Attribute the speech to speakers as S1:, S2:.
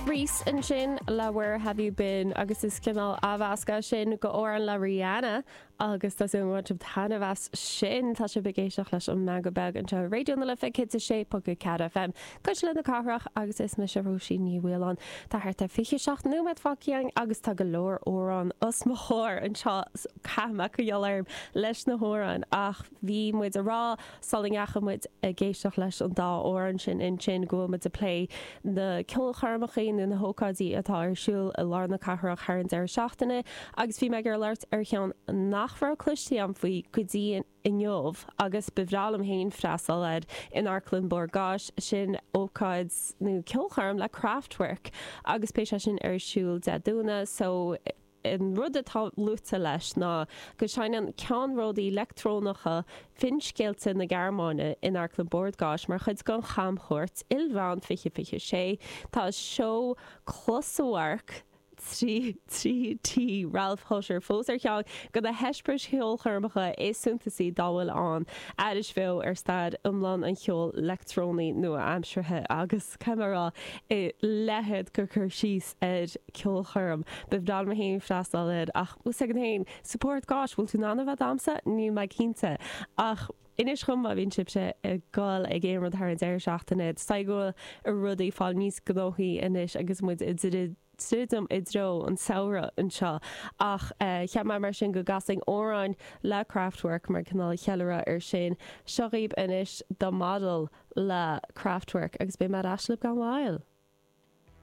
S1: Reese ansin le Where Have You Been agus is cineál athmheascadh sin go amhrán le Rihanna agus tá súil agam go mbain sibh taitneamh as sin. Tá sibh ag éisteacht leis an Meangadh Beag anseo ar Raidió na Life 106.4 FM, Cuisle na Cathrach agus is mise Róisín Ní Mhaoláin. Tá thart ar 27 nóiméad fágtha againn agus tá go leor amhrán os mo chomhair anseo so caithfidh mé coinneáil orm leis na hamhráin ach bhí muid ag rá sula ndeachaigh muid ag éisteacht leis an dá amhrán sin ansin go bhfuil muid ag plé na ceolchoirmeacha nó na hócáidí atá ar siúl i lár na cathrach thar an deireadh seachtaine agus bhí mé ag iarraidh labhairt ar cheann nach raibh cloiste agam faoi go dtí inniu agus ba bhreá liom féin freastal air in Amharclann Bord Gáis, sin ócáid nó ceolchoirm le Kraftwerk agus beidh sé sin ar siúl Dé Domhnaigh so An rud atá luaite leis ná go seinneann ceannródaí leictreonacha finscéalta na Gearmáine in Amharclann Bord Gáis mar chuid den chamchuairt ilmheán 2026. Tá seó closamhairc 3D Ralf Hütter fós ar cheann de na heispéiris cheolchoirmeacha is suntasaí dá bhfuil ann, aithris bheo ar stair iomlán an cheoil leictreonaigh nua-aimseartha agus, caithfidh mé a rá, a leithéid de chur síos ar ceolchoirm. Ba bhreá liom féin freastal air ach bhfuil 's agat féin, sa Bhord Gáis, bhfuil tú in ann a bheith damsa? Níl mé cinnte. Ach inis dhom má bhíonn sibhse ag dul ag aon rud thar an deireadh seachtaine. Is dóigh go bhfuil rudaí ag fáil níos gnóthaí anois agus muid ag druidim i dtreo an samhradh anseo. Ach cheap mé mar sin go gcasfainn amhrán le Kraftwerk mar cineál cheiliúradh ar sin. Seo dhaoibh anois The Model le Kraftwerk agus beidh mé ar ais libh gan mhoill.